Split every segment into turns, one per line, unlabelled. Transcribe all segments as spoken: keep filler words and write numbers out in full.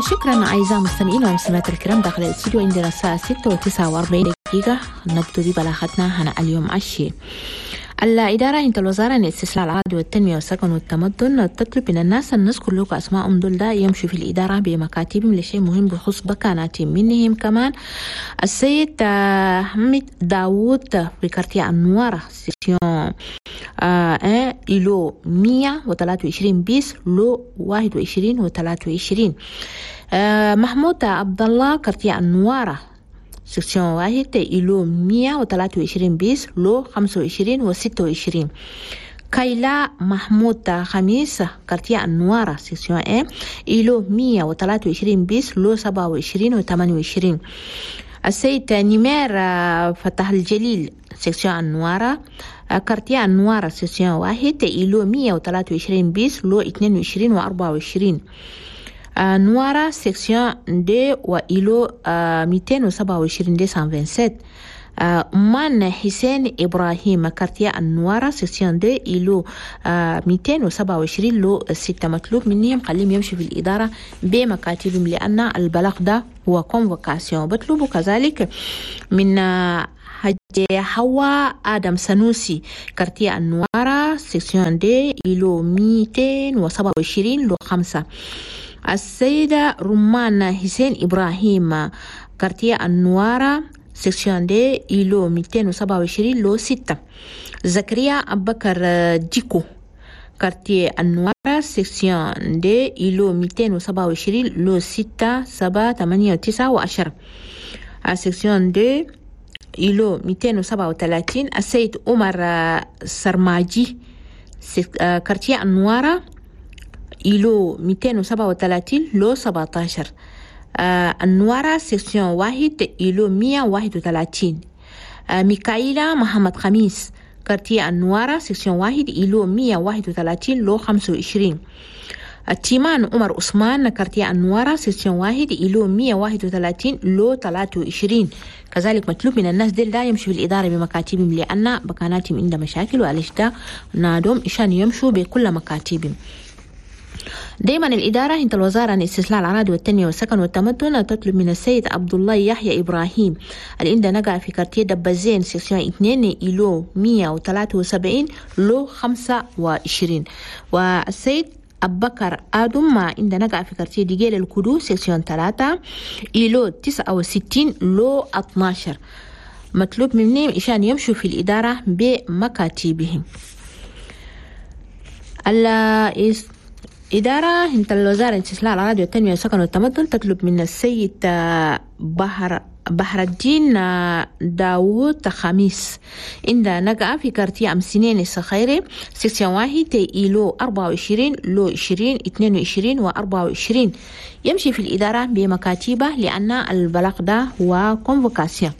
شكرا أعزائي المستمعين والمستمعات الكرام، داخل الاستوديو عندنا الساعة ستة وتسعة وأربعين دقيقة. نبدو ببلاغتنا هنا اليوم عشي. الإدارة انت الوزارة للاستثمار العادي والتنمية والسكن والتمدن تطلب من الناس أن نذكر لكم أسماءهم دول ده يمشوا في الإدارة بمكاتبهم لشيء مهم بخصوص بكاناتهم. منهم كمان السيد حمد داوود في quartier النوارة section آه îlot مية وثلاثة وعشرين bis lot واحد وعشرين وثلاثة وعشرين. آه محمود عبد الله quartier النوارة section واحد îlot مية وثلاثة وعشرين bis lot خمسة وعشرين وستة وعشرين. كايلا محمود خميس quartier النوارة section un îlot مية وثلاثة وعشرين bis lot سبعة وعشرين وثمانية وعشرين. السيد نمير فتح الجليل section النوارة quartier النوارة section واحد îlot مية وثلاثة وعشرين bis lot اثنين وعشرين وأربعة وعشرين. نوارة section deux و îlot ميتين وسبعة وعشرين deux cent vingt-sept. مان حسين إبراهيم quartier النوارة section deux îlot ميتين وسبعة وعشرين lot ستة. مطلوب منهم خليهم يمشوا في الإدارة بمكاتبهم لأن البلاغ ده هو convocation. بطلبوا كذلك من حجة حوا آدم سنوسي quartier النوارة section deux îlot ميتين وسبعة وعشرين lot خمسة. السيدة رمان حسين إبراهيم quartier النوارة section deux îlot ميتين وسبعة وعشرين lot ستة. زكريا أبكر ديكو quartier النوارة section deux îlot ميتين وسبعة وعشرين lot ستة سبعة ثمانية تسعة وعشرة. section deux îlot ميتين وسبعة وثلاثين. السيد عمر سرماجي quartier النوارة îlot ميتين وسبعة وثلاثين lot سبعة عشر. آه النوارة section واحد îlot مية وواحد وثلاثين. آه ميكايلا محمد خميس quartier النوارة section واحد îlot مية وواحد وثلاثين lot خمسة وعشرين. التيمان عمر عثمان quartier النوارة section واحد îlot مية وواحد وثلاثين lot ثلاثة وعشرين. كذلك مطلوب من الناس ديل لا يمشوا في الإدارة بمكاتبهم لأن بكاناتهم عندها مشاكل، وعليش ده نادهم عشان يمشوا بكل مكاتبهم. دايما الإدارة انت الوزارة عن استصلاح الأراضي والتنمية والسكن والتمدن تطلب من السيد عبد الله يحيى إبراهيم اللي عنده نقع في quartier دبزين section اثنين îlot مية وثلاثة وسبعين lot خمسة وعشرين. والسيد أبكر آدم ما عنده نقع في quartier ديجيل الكدو section ثلاثة îlot تسعة وستين lot اثناشر. مطلوب منهم عشان يمشوا في الإدارة بمكاتبهم. إدارة انت الوزارة استصلاح الأراضي والتنمية والسكن والتمدن تطلب من السيد بحر بحر الدين داوود خميس عند نقع في quartier أمسنين الصخيري section واحد îlot أربعة وعشرين lot عشرين اثنين وعشرين وأربعة وعشرين يمشي في الإدارة بمكاتبه لأن البلاغ ده هو convocation.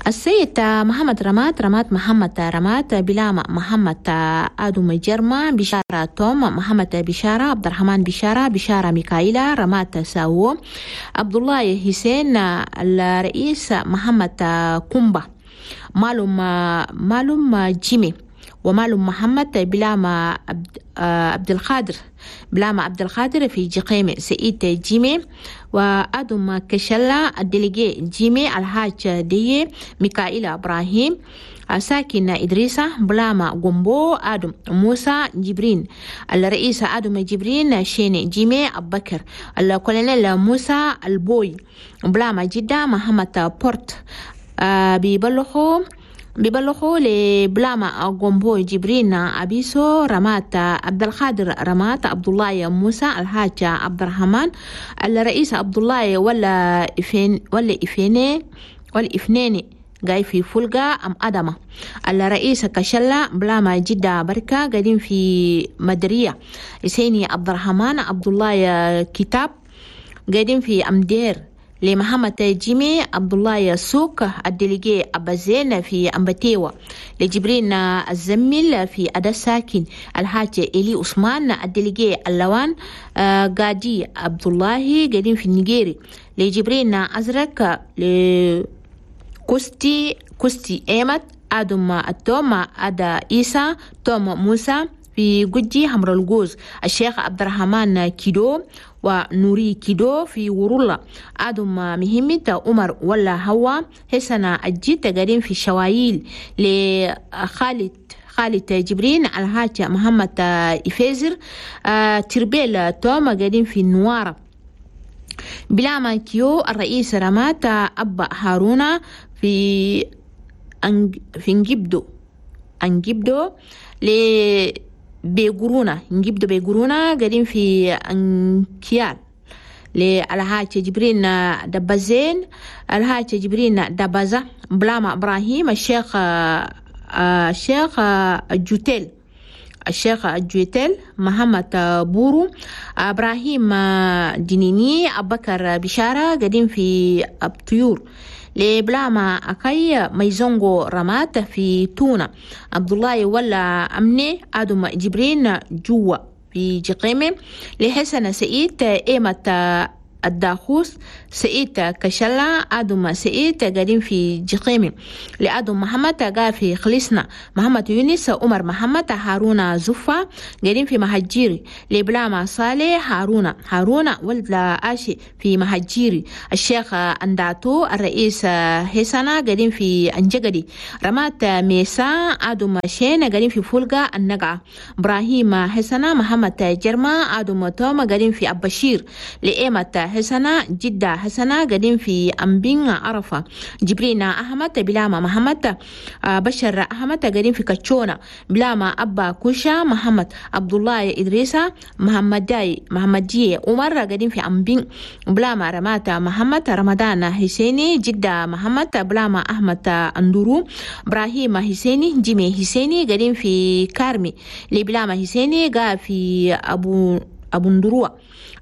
السيد محمد رمات رمات محمد رمات بلامة محمد آدم جرما بشارة توم محمد بشارة عبد الرحمن بشارة بشارة ميكائيلا رمات ساو عبد الله حسين الرئيس محمد كومبا مالوم مالوم جيمي ومالوم محمد بلامة عبد القادر بلامة عبد القادر في جقيمة سعيد جيمي وآدم كشلا ال délégué جيمي الحاج دي ميكائيل إبراهيم ساكن إدريسة بلاما غومبو آدم موسى جبرين الرئيس آدم جبرين شيني جيمي أبكر الكولونيل موسى البوي بلاما جدة محمد بورت بيبلغوا بيبلغوا لبلاما غومبو جبرين أبيسو رمات عبد القادر رمات عبد الله موسى الحاج عبد الرحمن الرئيس عبد الله ولا إفين ولا إفيني ولا إفنيني جاي في فولغا أم أدمة الرئيس كشلة بلاما جدة بركة قاعدين في مدرية إسيني عبد الرحمن عبد الله كتاب قاعدين في أمدير لمحمد جيمي عبد الله سوق ال délégué أبازين في أمبتيوة لجبرين الزميل في أدا ساكن الحاج إلي عثمان ال délégué اللوان قادي عبد الله قاعدين في النيجيري لجبرين أزرق لكوستي كوستي إيمت آدم التوم أدا إيسا توم موسى في جوجي حمر الجوز، الشيخ عبد الرحمن كيدو ونوري كيدو في ورولا، آدم مهمة عمر ولا هوا حسن الجيت قاعدين في الشوايل، لخالد خالد جبرين الحاج محمد إفيزر تربيل توما قاعدين في النوارة، بلاما كيو الرئيس رمات أبا هارونا في أنج في نجيبدو أنجيبدو ل بيقرونا نجيبدو بيقرونا قاعدين في أنكيال، للحاج جبرين دبازين الحاج جبرين دبازة بلاما إبراهيم الشيخ الشيخ الجوتيل الشيخ الجوتيل محمد بورو إبراهيم دينيني أبكر بشارة قاعدين في الطيور، لبلاما أكاي ميزونغو رمات في تونا، عبد الله ولا أمني آدم جبرين جوا في جقيمة، لحسن سعيد إيمة الداخوس سعيد كشلا آدم سعيد قاعدين في جقيمة، لآدم محمد قاعد في خلصنا، محمد يونس عمر محمد هارون زفا قاعدين في مهجيري، لبلاما صالح هارون هارون ولد لآشي في مهجيري، الشيخ أنداتو الرئيس حسنة قاعدين في أنجقدي، رمات ميسا آدم شين قاعدين في فولغا النقعة، إبراهيم حسنة محمد جرما آدم توما قاعدين في أبشير، لإيمة حسنة جدة حسنة قاعدين في أمبين عرفة، جبرين أحمد بلاما محمد بشر أحمد قاعدين في كاتشونا، بلاما أبا كوشا محمد عبد الله إدريسة محمد داي محمد جي عمر قاعدين في أمبين، بلاما رمات محمد رمضان حسيني جدة محمد بلاما أحمد أندورو إبراهيم حسيني جيمي حسيني قاعدين في كارمي، لبلاما حسيني قاعد في أبو أبو ندروة،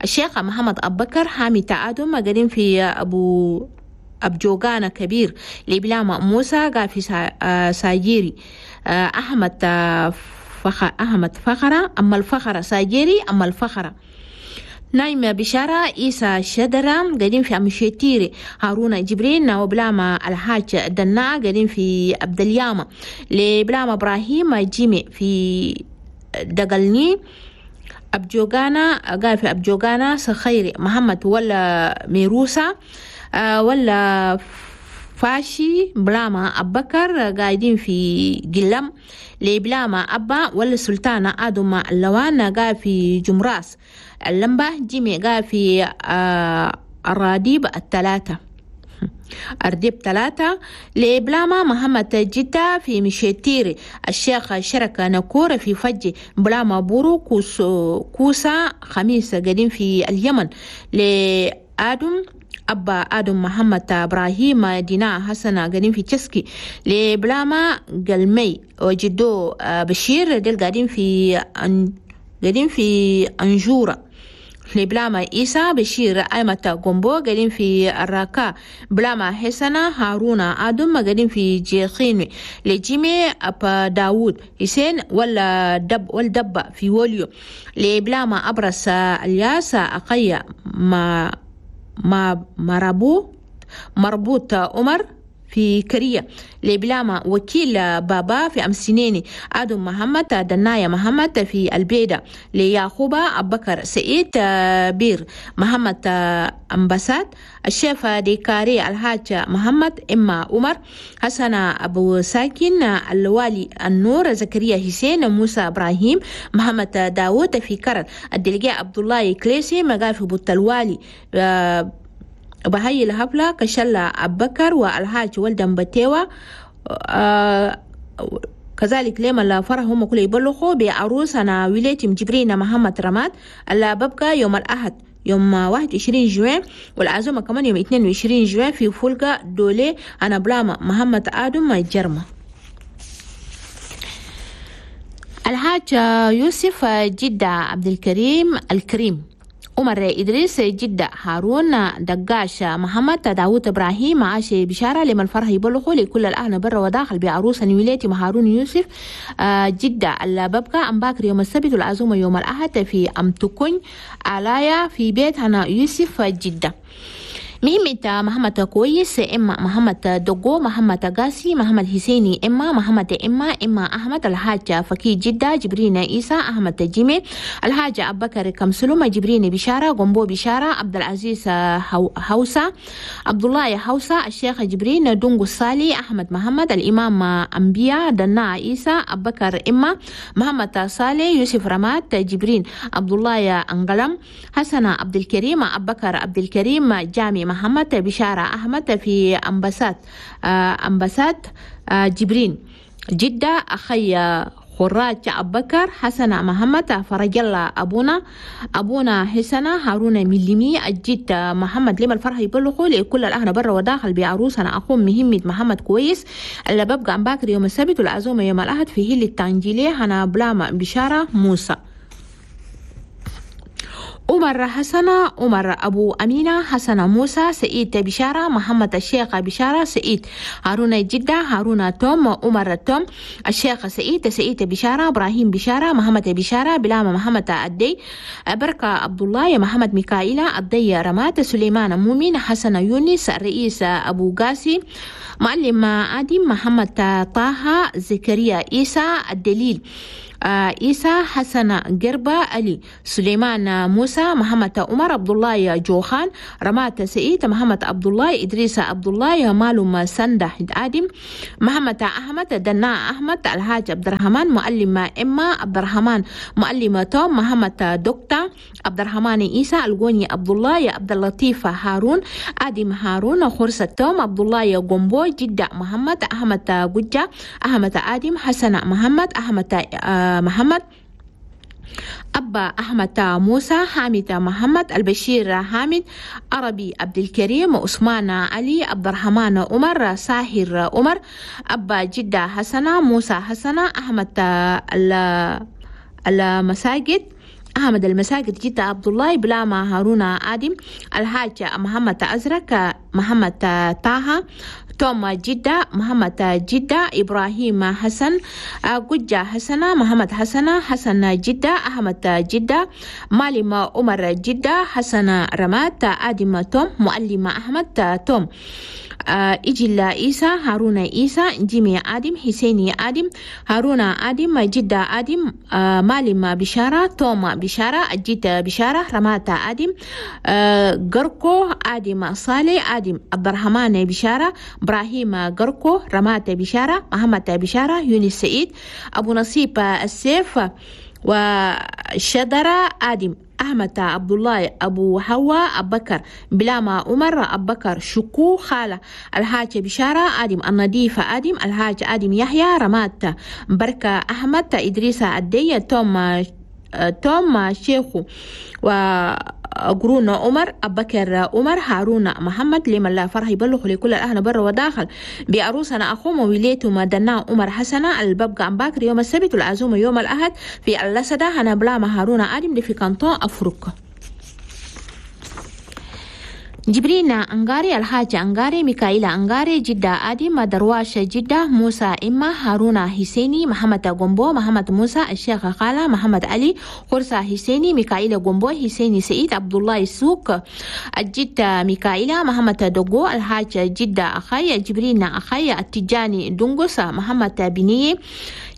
الشيخ محمد أبكر حامي تعادم قاعدين في أبو أبجوغانا كبير، لبلاما موسى قاعد في ساجيري، أحمد فخ أحمد فخرة أما الفخرة ساجيري أما الفخرة، نايمة بشارة إيسا شدرة قاعدين في أمشيتيري، هارون جبرين وبلاما الحاج دنا قاعدين في عبد الياما، لبلاما إبراهيم جيمي في دقلني، أبجوغانا قال في أبجوغانا سخيري محمد ولا ميروسا ولا فاشي بلاما أبكر قاعدين في قلم، لبلاما أبا ولا سلطانة آدم اللوان قاعد في جمراس، اللمبة جيمي قاعد في الراديب الثلاثة أرديب ثلاثة، لبلاما محمد جدة في مشيتيري، الشيخ شركة نكورة في فجي، بلاما بورو كوسا خميس قديم في اليمن، لآدم أبا آدم محمد إبراهيم دينا حسن قديم في تشسكي، لبلاما قلمي وجدو بشير ديل قاعدين في قاعدين في أنجورة، لبلاما إيسا بشير أيمة قنبو قاعدين في الراكا، بلاما حسنة هارون آدم قاعدين في جيخين، لجيمي أبا داود حسين ولا دب والدبة في ووليو، لبلاما أبرس الياس أقيا ما ما مرابو مربوط عمر في كرية، لبلاما وكيل بابا في أمسينيني، آدم محمد دنايا محمد في البيدة، ليعقوب أبكر سعيد بير محمد أمبسات، الشيف ديكاري الحاج محمد إما عمر حسن أبو ساكن الوالي النور زكريا حسين موسى إبراهيم محمد داود في كرر، الدلقاء عبد الله كليسي مقاف بوت الوالي بهاي الهبلة كشلة أبكر والحاج ولدن بتيوة. آه كذلك لما الفرح هم كل يبلغوا بعروس أنا ولاية جبرين محمد رماد اللي ببقى يوم الأحد يوم واحد وعشرين جوان، والعزومة كمان يوم اثنين وعشرين جوان في فولغا دولي أنا بلاما محمد آدم جرمة. الحاج يوسف جدة عبد الكريم الكريم عمر إدريس جدة هارون دقاش محمد داوود إبراهيم عاشي بشارة لمن فرح يبلغوا لكل الأهل برا وداخل بعروس ولاية هارون يوسف جدة الببقى أم باكر يوم السبت والعزومة يوم الأحد في أم تكون علايا في بيت هنا يوسف جدة. مهمة محمد كويس إما محمد دقو محمد قاسي محمد حسيني إما محمد إما إما أحمد الحاج فكي جدة جبرين إيسا أحمد جيمي الحاج أبو بكر كمسلومة جبرين بشارة قنبو بشارة عبد العزيز هوسة عبد الله هوسة الشيخ جبرين دونغو الصالي أحمد محمد الإمام أنبياء دنا عيسى أبو بكر إما محمد صالح يوسف رمات جبرين عبد الله أنقلم حسن عبد الكريم أبو بكر عبد الكريم جامي محمد بشارة أحمد في أمبسات أمبسات جبرين جدة أخي خراج أبو بكر حسن محمد فرج الله أبونا أبونا حسن هارون مليمي الجد محمد لما الفرح يبلغوا لكل الأهل برا وداخل بعروسنا أخو مهمة محمد كويس اللي ببقى عم باكر يوم السبت والعزومة يوم الأحد في هيل التانجيلية هنا بلاما بشارة موسى. عمر حسن عمر أبو أمينة حسن موسى سعيد بشارة محمد الشيخ بشارة سعيد هارون جدة هارون توم عمر توم الشيخ سعيد سعيد بشارة إبراهيم بشارة محمد بشارة بلام محمد الدي بركة عبد الله محمد ميكائيل الدي رمات سليمان مؤمن حسن يونس الرئيس أبو قاسي معلم آدم محمد طه زكريا عيسى الدليل عيسى حسن قربة علي سليمان موسى محمد عمر عبد الله جوخان رمات سعيد محمد عبد الله إدريس عبد الله مالوم سندة آدم محمد أحمد دنا أحمد الحاج عبد الرحمن معلم إما عبد الرحمن معلم توم محمد دكتور عبد الرحمن عيسى الغوني عبد الله عبد اللطيف هارون آدم هارون خرسة توم عبد الله جومبو جدة محمد أحمد جوجة أحمد آدم حسن محمد أحمد محمد أبا أحمد موسى حامد محمد البشير حامد عربي عبد الكريم عثمان علي عبد الرحمن عمر ساهر عمر أبا جدة حسنة موسى حسنة أحمد المساجد أحمد المساجد جدة عبد الله بلاما هارون آدم الحاج محمد أزرق محمد طه توم جدة محمد جدة إبراهيم حسن قجة حسنة محمد حسنة حسن جدة أحمد جدة معلم عمر جدة حسن رمات آدم توم معلم أحمد توم إجل عيسى هارون عيسى جيمي آدم حسيني آدم هارون آدم جدة آدم معلم بشارة توم بشارة جدة بشارة رمات آدم قركو آدم صالح آدم عبد الرحمن بشارة إبراهيم قركو رمات بشارة محمد بشارة يونس سعيد أبو نصيب السيف وشدرة آدم أحمد عبد الله أبو حوا أبو بكر بلاما عمر أبو بكر شكو خالة الحاج بشارة آدم النظيف آدم الحاج آدم يحيى رمات بركة أحمد إدريس الدي توم توم شيخو و قرون عمر أبو بكر عمر هارون محمد لمن لا فرح يبلغ لكل الأهل بر وداخل بعروسنا أخوم ووليته مدنا عمر حسنة الببقى عم باكر يوم السبت والعزومة يوم الأحد في اللسدة هنا بلاما هارون آدم في كانتون أفريقيا. جبرين أنغاري الحاج أنغاري ميكائيل أنغاري جدة آدم درواش جدة موسى إما هارون حسيني محمد غومبو محمد موسى الشيخ خالة محمد علي خرسة حسيني ميكائيل غومبو حسيني سعيد عبد الله السوق الجدة ميكائيل محمد دوغو الحاج جدة أخي جبرين أخي التجاني دونغوس محمد بنية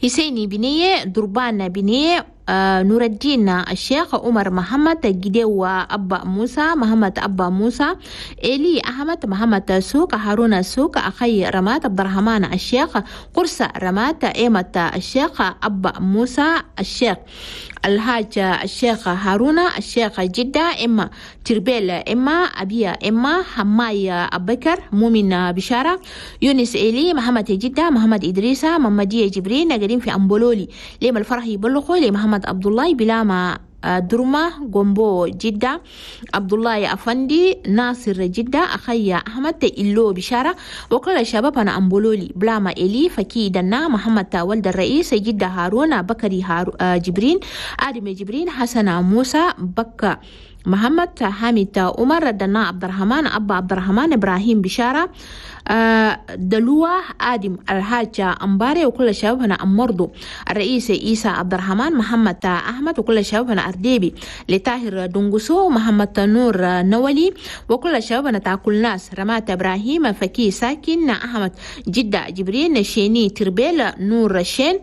حسيني بنية دربان بنية آه نور الدين الشيخ عمر محمد جديو أبا موسى محمد أبا موسى إلي أحمد محمد سوق هارون سوق أخي رمات عبد الرحمن الشيخ قرصة رمات إيمة الشيخ أبا موسى الشيخ الحاج الشيخ هارون الشيخ جدة إما تربيل إما أبيا إما حماي أبكر مؤمن بشارة يونس إلي محمد جدة محمد إدريسة محمدية جبرين قاعدين في أمبولولي لما الفرح يبلغوا لمحمد عبد الله بلاما درما غومبو جدة عبد الله أفندي ناصر جدة أخي أحمد إلو بشارة وكل الشباب أنا أمبولولي بلاما إلي فكي دنا محمد ولد الرئيس جدة هارون بكري هارو جبرين آدم جبرين حسن موسى بكا محمد حامد عمر دنا عبد الرحمن أبا عبد الرحمن إبراهيم بشارة دلوة آدم الحاج أمباري وكل الشباب هنا أمرضو الرئيس عيسى عبد الرحمن محمد أحمد وكل الشباب هنا أرديبي لطاهر دونغوسو محمد نور نولي وكل الشباب هنا تاكل ناس رمات إبراهيم فكي ساكن أحمد جدة جبرين شيني تربيل نور شين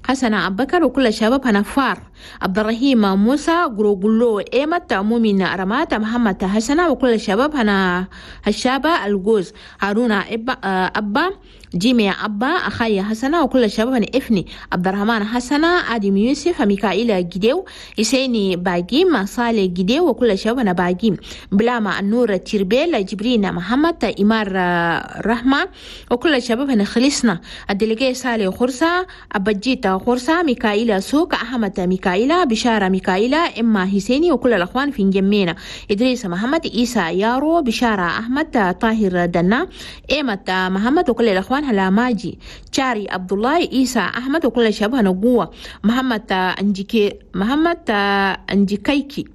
حسن أبكر وكل الشباب هنا فار عبد الرحيم موسى غروغلو إيمت مؤمن رمات محمد حسن وكل الشباب هنا هشابة الجوز هارون أبا جيمي أبا أخي حسن وكل الشباب هنا إفني عبد الرحمن حسن آدم يوسف ميكائيل جديو إسيني باجيم صالح جديو وكل الشباب هنا باجيم بلاما النور تربيل جبرين محمد إمار رحمة وكل الشباب هنا خلصنا الدلقي صالح خرسة أبجيتا خرسة ميكائيل سوق أحمد ميكائيل بشارة ميكائيل إما حسيني وكل الأخوان في جمينا إدريس محمد إيسى يارو بشارة أحمد طاهر دنا إيمة محمد وكل الأخوان هلا ماجي شاري عبد الله إيسى أحمد وكل الشباب نقوة محمد أنجيكي محمد أنجيكايكي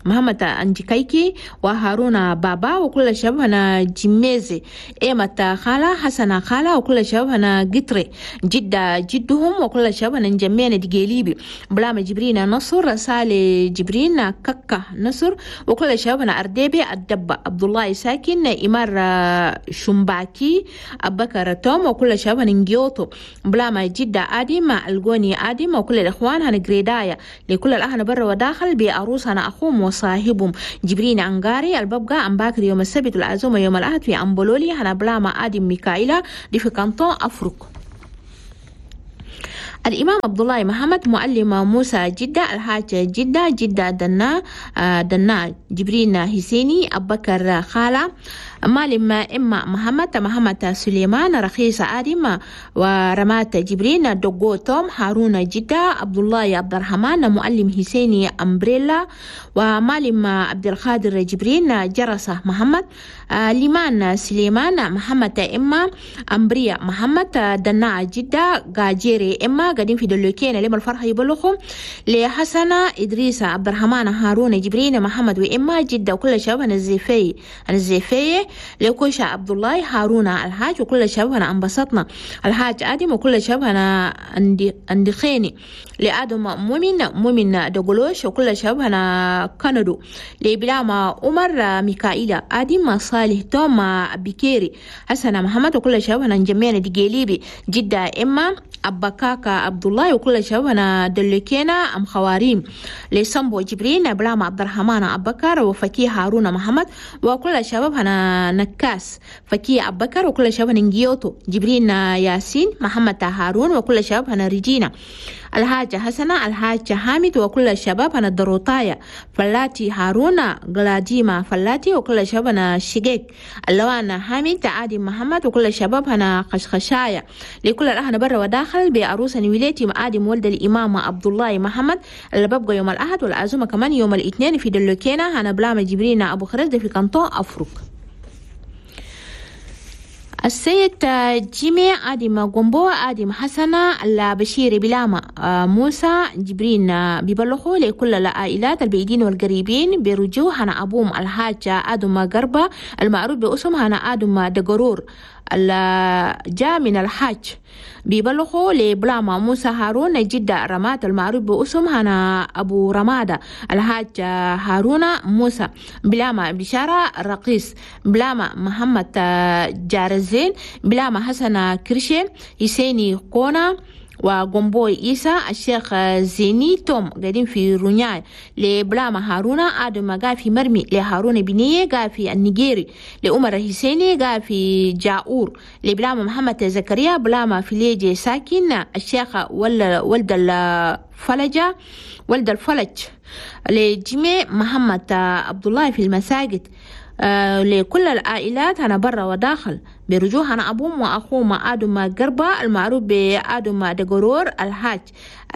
محمد أنجيكايكي وهارون بابا وكل الشباب هنا جميزي إيمة خالة حسن خالة وكل الشباب هنا قطري جدة جدهم وكل الشباب هنا نجمينا دقيليبي بلام جبرين نصر سالي جبرين ككة نصر وكل الشباب هنا أرديبي الدبة عبد الله ساكن إمار شمباكي أبكر توم وكل الشباب هنا نجيوتو بلام جدة آدم الجوني آدم وكل الإخوان هنا جريدايا لكل الأهل برا وداخل بأروس هنا أخوهم وصاحبهم جبرين أنغاري الببقى أمباكر يوم السبت العزومة يوم الأحد في أمبولولي هنا بلاما آدم ميكائيلا دي في كانتون أفريق. الإمام عبد الله محمد معلم موسى جدة الحاج جدة جدة دنا دنا جبرين حسيني أبكر خالة معلم إما محمد محمد سليمان رخيص آدم ورمات جبرين دوغو توم هارون جدة عبد الله عبد الرحمن معلم حسيني أمبريلا ومعلم عبد القادر جبرين جرسة محمد ليمان سليمان محمد إما أمبريا محمد دنا جدة غاجيري إما قاعدين في دلوكين لما الفرحة يبلغهم لحسنة إدريس عبد الرحمن هارون جبرين محمد وإما جدة وكل شباب الزيفي الزيفي لكوشة عبد الله هارون الحاج وكل شباب أنا انبسطنا الحاج آدم وكل شباب أنا أندخيني لآدم مؤمن مؤمن دقلوش وكل شباب أنا كندو لبلاما عمر ميكائيل آدم صالح توم بكيري حسن محمد وكل شباب أنا نجمينا دقيليبي جدة إما أبكاكا عبد الله وكل شباب أنا دلوكينا أم خواريم لسامبو جبرين بلاما عبد الرحمن أبكر وفكي هارون محمد وكل شباب أنا نكاس فكي أبكر وكل شباب نجيوتو جبرين ياسين محمد هارون وكل شباب أنا ريجينا الحاجة حسنة الحاج حامد وكل الشباب أنا دروطايا فلاتي هارون غلاديما فلاتي وكل الشباب أنا شقيق اللوانا حامد عادي محمد وكل الشباب أنا خشخشايا لكل الأهل برا وداخل بعروس ولايتي آدم ولد الإمام عبد الله محمد اللي ببقى يوم الأحد والعزومة كمان يوم الاثنين في دلوكينا أنا بلامة جبرينا أبو خرز في كانتون أفريق. السيد جيمي آدم غومبو آدم حسنة البشير بلاما موسى جبرين بيبلغوا لكل العائلات البعيدين والقريبين برجوع هنا أبوم الحاج آدم غربة المعروف باسم هنا آدم دقرور جاء من الحاج بيبلغوا لبلاما موسى هارون جدة رمات المعروف باسم هنا أبو رمادة الحاج هارون موسى بلاما بشارة رقيس بلاما محمد جارزين بلاما حسن كرشي حسيني كونا وغومبوي إيسا الشيخ زيني توم قاعدين في رونياي لبلاما هارونا آدم قاعد في مرمي لهارون بنية قاعد في النيجيري لأمر حسيني قاعد في جاور لبلاما محمد زكريا بلاما في ليجي ساكن الشيخ ولد الفلجة ولد الفلج لجميع محمد عبد الله في المساجد آه لكل العائلات أنا برا وداخل برجوع أنا أبوم وأخوم آدم قربة المعروف بآدم دقرور الحاج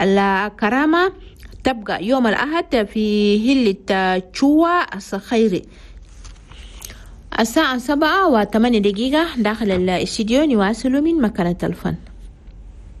الكرامة تبقى يوم الأحد في هلة تشوا الصخيري الساعة سبعة وثمانية دقيقة داخل الاستديو. نواصل من مكانة الفن.